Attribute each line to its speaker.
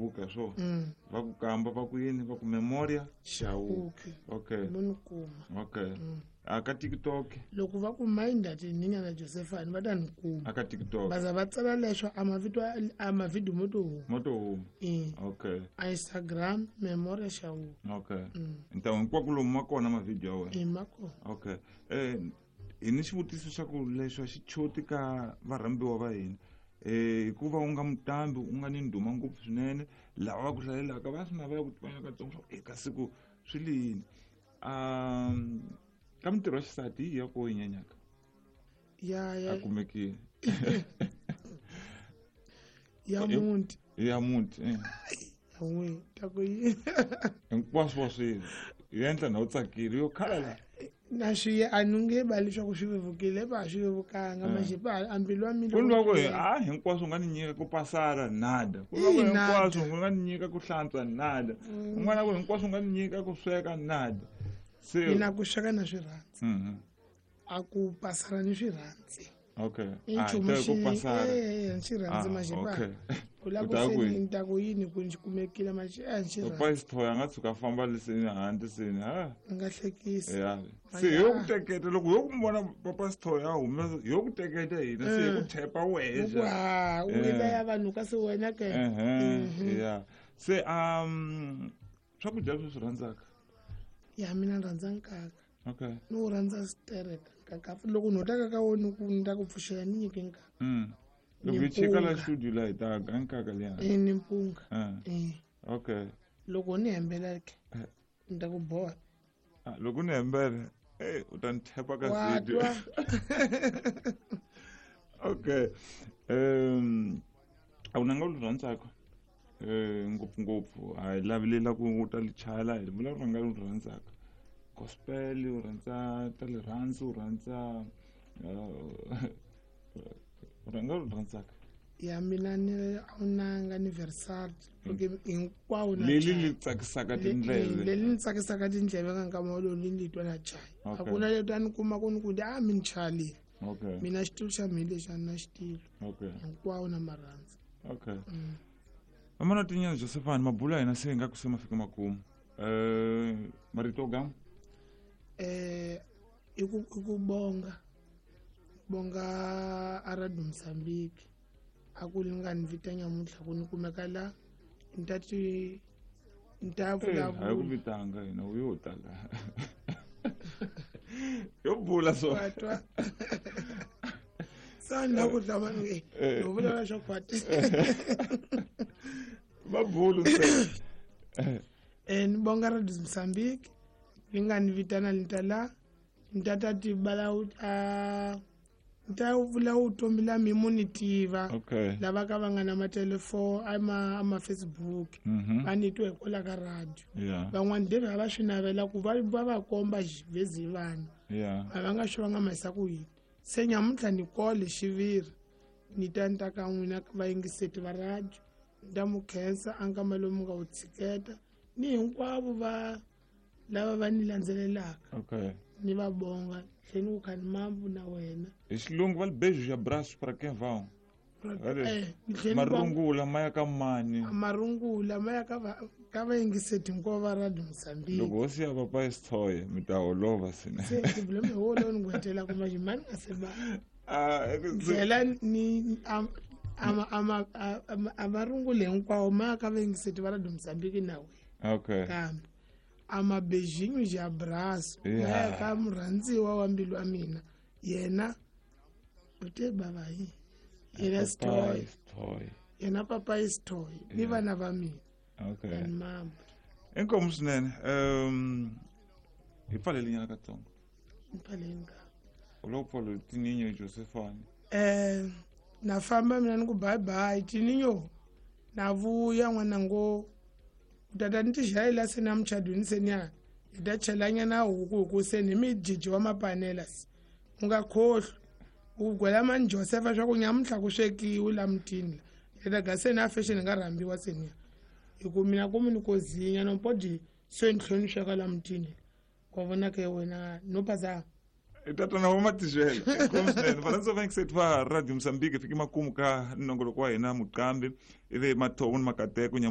Speaker 1: Hi swona. Va ku kamba va ku yini, va ku Memoria
Speaker 2: Chauke.
Speaker 1: Okay.
Speaker 2: Mo ni kuma.
Speaker 1: Okay. A ka TikTok?
Speaker 2: Loko va ku Minda Tininha na Josephine, va ta ni kuma.
Speaker 1: A ka TikTok.
Speaker 2: Va za va tsala leswo a mavito a mavhidiyo mo to huma.
Speaker 1: Mo to huma.
Speaker 2: E.
Speaker 1: Okay.
Speaker 2: A Instagram, Memoria Chauke.
Speaker 1: Okay. Ntawu hinkwako lomu ma kona mavhidiyo ya wena?
Speaker 2: E, ma kona.
Speaker 1: Okay. Hi ni xivutiso xa ku leswi a xi choti ka varhambiwa va hina. Hikuva u nga mutambi, u nga ni ndhuma ngopfu swinene, lava va ku hlalelaka va swi navela ku tivana katsongo swa ku eka siku swi le yini. Ka mintirho ya xisati hi ya ko yi nyanyaka?
Speaker 2: Ya, ya.
Speaker 1: A kumekile.
Speaker 2: Ya muti.
Speaker 1: Ya muti, eh.
Speaker 2: Ya n'wi, ta ku yini?
Speaker 1: Hinkwaswo wa swi endla na u tsakile, yo khala la.
Speaker 2: Na swi a ni nge ba leswaku swi vevukile, ba swi vevukanga, maxipa a mbilu wa mina.
Speaker 1: Ku lwa ku a hinkwaswo nga ni nyika ku pasara nada. Ku lwa ku
Speaker 2: Ina.
Speaker 1: hinkwaswo nga ni nyika ku hlantswa nada. Un'wana ku hinkwaswo nga ni nyika ku sweka nada. Se
Speaker 2: mina ku sweka na swi rhandza. A ku pasara ni swi rhandzi.
Speaker 1: Okay.
Speaker 2: I
Speaker 1: Ah,
Speaker 2: nchumu
Speaker 1: hi ta ku
Speaker 2: xi-
Speaker 1: pasara.
Speaker 2: Eh, eh, swi rhandzi
Speaker 1: Ah,
Speaker 2: maxipa.
Speaker 1: okay.
Speaker 2: U lava
Speaker 1: U ta
Speaker 2: ku
Speaker 1: ku
Speaker 2: se
Speaker 1: yini?
Speaker 2: ni ta ku yini ku ni kumekile maxi, eh, swi rhandzi.
Speaker 1: Papa Sithoya a nga tshuka a famba leseni handle seni, ha?
Speaker 2: Ni nga hlekisi.
Speaker 1: Ya.
Speaker 2: Manje,
Speaker 1: Se yo ku
Speaker 2: ah.
Speaker 1: teketa, loko yo ku vona Papa Sithoya a humesa, yo ku teketa hina, se hi ku thepa wehe
Speaker 2: Ku ha, u ila ya vanhu kasi wena ke.
Speaker 1: Ya. Se, swakudya leswi swi rhandzaka?
Speaker 2: Ya, mina ni rhandza nkaka.
Speaker 1: Okay.
Speaker 2: Ni wu rhandza stereka nkaka. Loko ni hotaka ka wona ku ni ta ku pfuxela ni nyike nkaka.
Speaker 1: Loko
Speaker 2: Ni
Speaker 1: hi chika la
Speaker 2: mpunga.
Speaker 1: studio la hi ta ga nkaka liya.
Speaker 2: Eh, ni mpunga. Eh.
Speaker 1: Okay.
Speaker 2: Loko ni hembela ke, ni ta ku boha.
Speaker 1: Ah, loko ni hembela, u ta ni thepa ka
Speaker 2: Wa
Speaker 1: video.
Speaker 2: twa.
Speaker 1: Okay. A wu nanga u ri rhandzaka? Ngopfungopfu a hi lavi ku u ta li chala, hi vula rhanga u ri rhandzaka. Gospel, u rhandza ta rirhandzu, u rhandza, u rhanga u ri rhandzaka.
Speaker 2: Ya mina ni a wu nanga ni Versace, okay, hinkwawo na
Speaker 1: Leli
Speaker 2: chaya.
Speaker 1: li tsakisaka tindleve.
Speaker 2: Leli ni tsakisaka tindleve ka nkama wolowo li ni twa na chaya. A
Speaker 1: Okay.
Speaker 2: ku na leti a ni kuma ku ni ku a mi ni chalile.
Speaker 1: Okay.
Speaker 2: Mina xitulu xa mina lexi a ni na xitulu.
Speaker 1: Okay.
Speaker 2: Hinkwawo na marhandzu.
Speaker 1: Okay. Amana tinyana Josephine, mabula hina se nga ku se ma fika makumu. Marito gam?
Speaker 2: I ku, i ku bonga. Bonga a Radio Mozambique. A ku li nga ni vita nyamuntlha ku ni kumeka la, ni ta ti, ni ta
Speaker 1: Eh,
Speaker 2: vulavula.
Speaker 1: a yi ku vitanga hina, u yo ta la. Yo bula so.
Speaker 2: Wa twa. Sa ni la ku hlama ni, eh,
Speaker 1: Eh.
Speaker 2: ni vulavula swa khwati.
Speaker 1: Va bulu ntsena.
Speaker 2: Ni bonga Radio Mozambique, li nga ni vitana ni ta la, ni ta ta ti bala u, a, ni ta vula vutomi la mi mo ni tiva.
Speaker 1: Okay.
Speaker 2: Lava ka va nga na matelefoni, a ma Facebook. Va ni twa hikwalaho ka radio.
Speaker 1: Yeah.
Speaker 2: Van'wani deve a va swi navela ku va va komba vhezi vanhu.
Speaker 1: Yeah.
Speaker 2: A va nga swi va nga mahisa ku yini. Se nyamuntlha ni kole xiviri. Ni ta ni ta ka n'wina vayingiseti va radio. Ni ta mu khensa a nkama lowu mi nga wu tshiketa. Ni hinkwavo va lava va ni landzelelaka.
Speaker 1: Okay.
Speaker 2: Ni va bonga. Tlhela ni ku khani mambu na wena.
Speaker 1: Hi xilungu va li beijo ya braço para quem vão. Vale.
Speaker 2: Ni tlhela ni va
Speaker 1: Marungula ma ya ka mani?
Speaker 2: Marungula ma ya ka va, ka vayingiseti hinkwavo va Radio Mozambique.
Speaker 1: Loko hosi ya Papa Sithoye mi ta holova swinene.
Speaker 2: Se problema hi wona lowu ni ku hetelaka manje, mani nga se ba.
Speaker 1: Ah, e ku se-
Speaker 2: Tlhela ni, a, a, a, a, a, a, a marungula hinkwawo ma ya ka vayingiseti va Radio Mozambique na wena.
Speaker 1: Okay.
Speaker 2: Kambe a mabejinho de abraço,
Speaker 1: Yeah.
Speaker 2: ma ya ka murhandziwa wa mbilu wa mina. Yena u te bava hi. Yena
Speaker 1: Papa
Speaker 2: Sithoye.
Speaker 1: Sithoye.
Speaker 2: Yena Papa Sithoye ni
Speaker 1: Yeah.
Speaker 2: vana va mina.
Speaker 1: Okay.
Speaker 2: And mama.
Speaker 1: Inkomu swinene. Hi pfaleli nyana katsongo.
Speaker 2: Ni pfaleli ka.
Speaker 1: U lo pfala Tininho Josephine.
Speaker 2: Na famba mina ni ku bye bye Tininho. Na vuya n'wana ngo u tata ni ti xayela se na muchadweni se ni ya hi ta chelanyana huku hi ku se ni mijiji wa mapanela se. U nga khohlwi. U gwela mani Josepha swa ku nyamuntlha ku swekiwi la mutini la. Hi ta ga se na fashion hi nga rhambiwa se ni ya. Hi ku mina ku mi ni ko zinya no podi se ni tlhela ni sweka la mutini. Wa vona ke wena no pasa.
Speaker 1: I tatana wa Matijela. Inkomu swinene. Valandza va yingiseti va Radio Mozambique, fiki makumu ka nongoloko wa hina Muqambi, ivi Mathovo ni Makateko nyamuntlha.